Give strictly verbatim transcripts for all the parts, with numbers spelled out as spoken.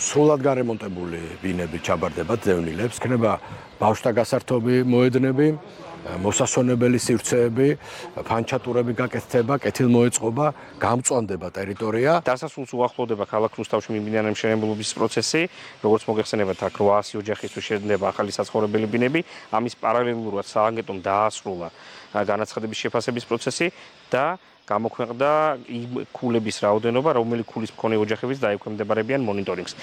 სრულად გარემონტებული ბინები ჩაბარდება ძევნილებს, იქნება ბავშვთა გასართობი მოედნები, მოსასვენებელი სივრცეები, ფანჩატურები გაკეთდება, კეთილმოეწყობა, გამწვანდება ტერიტორია. დასასრულს უახლოვდება ქალაქ რუსთავში მიმდინარე მშენებლობის პროცესი, როგორც მოგეხსენებათ, აქ რვაასი ოჯახისთვის შედგება ახალი საცხოვრებელი ბინები, ამის პარალელურად სააგენტომ დაასრულა განაცხადების შეფასების პროცესი და გამოქვეყნდა იმ ქულების რაოდენობა, რომელი ქულის მქონე ოჯახებიც დაექვემდებარებიან მონიტორინგს.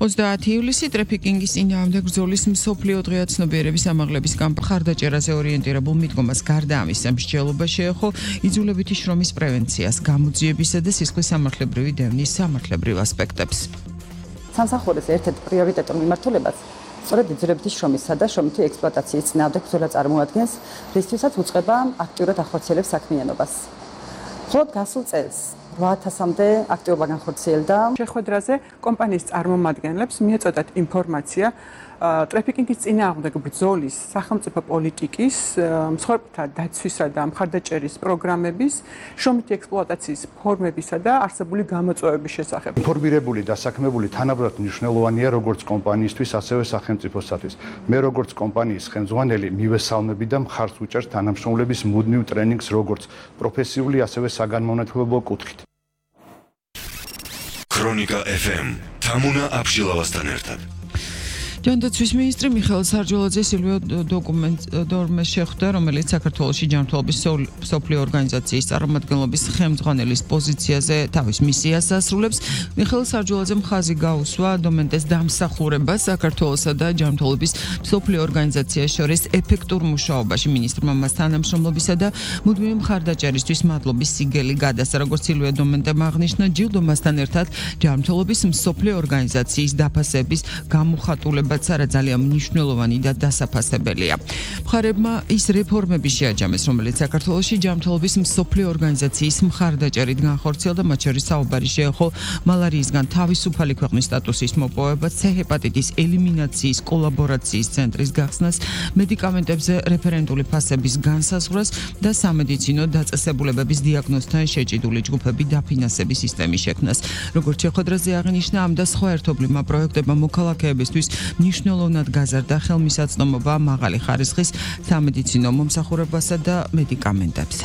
ოცდაათი ივლისი ტრაფიკინგის წინააღმდეგ ბრძოლის მსოფლიო დღეა ცნობიერების ამაღლების კამპანია ხარდაჭერაზე ორიენტირებულ მიდგომას გარდა ამისა მსჯელობა შეეხო იძულებითი შრომის პრევენციას, გამოძიებისა და სისხლის სამართლებრივი დევნის სამართლებრივ ასპექტებს. სამსახურის ერთ-ერთ პრიორიტეტულ მიმართულებას სწორედ იძულებითი შრომისა და შრომითი ექსპლუატაციის წინააღმდეგ ბრძოლა წარმოადგენს, რისთვისაც უწყება აქტიურად ახორციელებს საქმიანობას. მხოლოდ გასულ წელს რვა ათასამდე აქტიობა განხორციელდა. შეხვედრაზე კომპანიის წარმომადგენლებს მიეწოდათ ინფორმაცია ტრაფიკინგის წინააღმდეგ ბრძოლის, სახელმწიფო პოლიტიკის, მსხვერპლთა დაცვისა და მხარდაჭერის პროგრამების, შრომითი ექსპლუატაციის ფორმებისა და არსებული გამოწვევების შესახებ. ინფორმირებული და საქმებული თანაბრად მნიშვნელოვანია როგორც კომპანიისთვის, ასევე სახელმწიფოსათვის. მე როგორც კომპანიის ხელმძღვანელი მივესალმები და მხარს ვუჭერს თანამშრომლების მუდმივ ტრენინგს როგორც პროფესიული, ასევე საგანმანათლებლო კუთხით. ქრონიკა ეფ ემ თამუნა აბშილავასთან ერთად. ჯანდაცვის მინისტრი მიხეილ სარჯველაძე სილვიო დორმეს შეხვდა, რომელიც საქართველოში ჯანმრთელობის მსოფლიო ორგანიზაციის წარმომადგენლობის ხელმძღვანელის პოზიციაზე თავის მისიას ასრულებს. მიხეილ სარჯველაძემ ხაზი გაუსვა დომენტეს დამსახურებას საქართველოსა და ჯანმრთელობის მსოფლიო ორგანიზაციას შორის ეფექტურ მუშაობაში. მინისტრმა მას თანამშრომლობისა და მუდმივი მხარდაჭერისთვის მადლობის სიგელი გადასცა. როგორც სილვიო დომენტემ აღნიშნა, ჯილდომასთან ერთად ჯანმრთელობის მსოფლიო ორგანიზაციის დაფასების გამოხატულება არა ძალიან მნიშვნელოვანი და დასაფასებელია. მხარებმა ის რეფორმები შეაჯამეს, რომელიც საქართველოში ჯანმრთელობის მსოფლიო ორგანიზაციის მხარდაჭერით განხორციელდა, მათ შორის საუბარი შეეხო მალარიისგან თავისუფალი ქვეყნის სტატუსის მოპოვებას, ცე ჰეპატიტის ელიმინაციის კოლაბორაციის ცენტრის გახსნას, მედიკამენტებზე რეფერენტული ფასების განსაზღვრას და სამედიცინო დაწესებულებების დიაგნოზთან შეჭიდული ჯგუფები დაფინანსების სისტემის შექმნას. როგორც შეხვედრაზე აღნიშნა, ამ და სხვა ერთობლივმა პროექტებმა მოქალაქეებისთვის მნიშვნელოვნად გაზარდა ხელმისაწვდომობა მაღალი ხარისხის სამედიცინო მომსახურებასა და მედიკამენტებზე.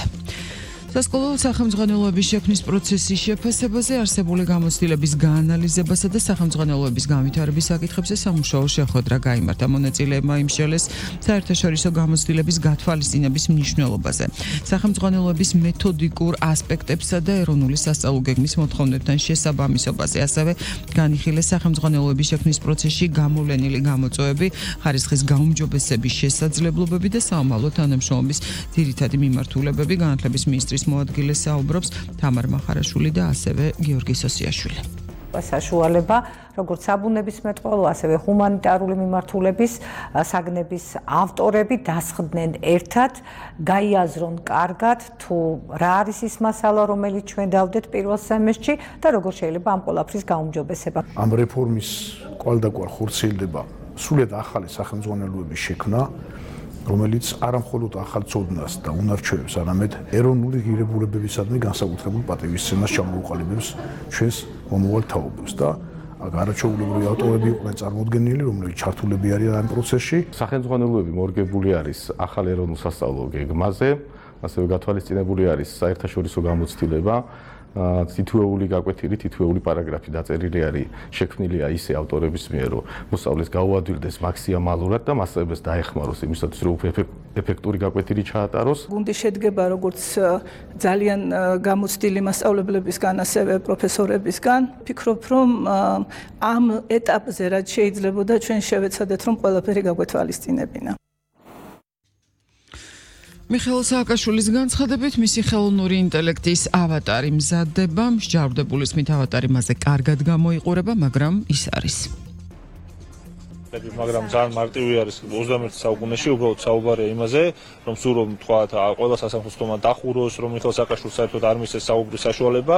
სასკოლო სახელმძღვანელოების შექმნის პროცესის შეფასებაზე, არსებული გამოცდილების გაანალიზებასა და სახელმძღვანელოების განვითარების საკითხებზე სამუშაო შეხვედრა გაიმართა. მონაწილეებმა იმსჯელეს საერთაშორისო გამოცდილების გათვალისწინების მნიშვნელობაზე, სახელმძღვანელოების მეთოდიკურ ასპექტებსა და ეროვნული სასწავლო გეგმის მოთხოვნებთან შესაბამისობაზე. ასევე განიხილეს სახელმძღვანელოების შექმნის პროცესში გამოვლენილი გამოწვევები, ხარისხის გაუმჯობესების შესაძლებლობები და საომალო თანამშრომლობის ძირითადი მიმართულებები. განათლების მინისტრის მოადგილე საუბრობს თამარ მახარაშვილი და ასევე გიორგი სოსიაშვილი. საშუალება, როგორც საბუნებისმეტყველო, ასევე ჰუმანიტარული მიმართულების საგნების ავტორები დასხდნენ ერთად, გაიაზრონ კარგად თუ რა არის ის მასალა, რომელიც ჩვენ დავდეთ პირველ სემესტრში და როგორ შეიძლება ამ ყველაფრის გაუმჯობესება. ამ რეფორმის კვალდაკვალ ხორციელდება სრულიად ახალი სახელმძღვანელოების შექმნა, რომელიც არა მხოლოდ ახალ ცოდნას და უნარჩვევებს, არამედ ეროვნული ღირებულებებისადმი განსაკუთრებულ პატივისცემას ჩამოუყალიბებს ჩვენს მომავალ თაობებს და არაჩვეულებრივი ავტორები იყვნენ წარმოდგენილი, რომლებიც ჩართულები არიან ამ პროცესში. სახელმძღვანელოები მორგებული არის ახალ ეროვნულ სასწავლო გეგმაზე, ასევე გათვალისწინებული არის საერთაშორისო გამოცდილება. თითოეული გაკვეთილი, თითოეული პარაგრაფი დაწერილი არის, შექმნილია ისე ავტორების მიერ, რომ მოსწავლეს გაუადვილდეს მაქსიმალურად და მასწავლებელს დაეხმაროს იმისათვის, რომ ეფექტური გაკვეთილი ჩაატაროს. გუნდი შედგება როგორც ძალიან გამოცდილი მასწავლებლებისგან, ასევე პროფესორებისგან. ფიქრობ, რომ ამ ეტაპზე რაც შეიძლება და ჩვენ შევეცადეთ, რომ ყველაფერი გაგვეთვალისწინებინა. მიხეილ სააკაშვილის განცხადებით, მისი ხელოვნური ინტელექტის ავატარი მზადდება, მსჯავრდებულის მით ავატარი მასზე კარგად გამოიყურება, მაგრამ ის არის. მაგრამ ძალიან მარტივი არის ოცდამეერთე საუკუნეში, უბრალოდ საუბარია იმაზე, რომ სულ რომ თქვათ, ყველა სასამართლომ დახუროს, რომ მიხეილ სააკაშვილს საერთოდ არ მისცეს საუბრის საშუალება,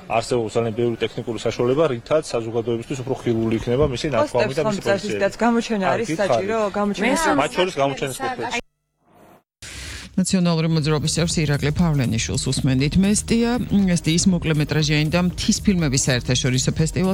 არსებობს ძალიან ბევრი ტექნიკური საშუალება, რითაც საზოგადოებისთვის უფრო ხილული იქნება მისი ნათქვამი და მისი პროცესი. გამოჩენა არის საჭირო, გამოჩენა. მათ შორის გამოჩენის კუთხეში. ნაციონალური მოძრაობის წევრის ირაკლი ფავლენიშვილს უსმენდით. მესტია, ესტიის მოკლემეტრაჟიანი და მთის ფილმების საერთაშორისო ფესტივალს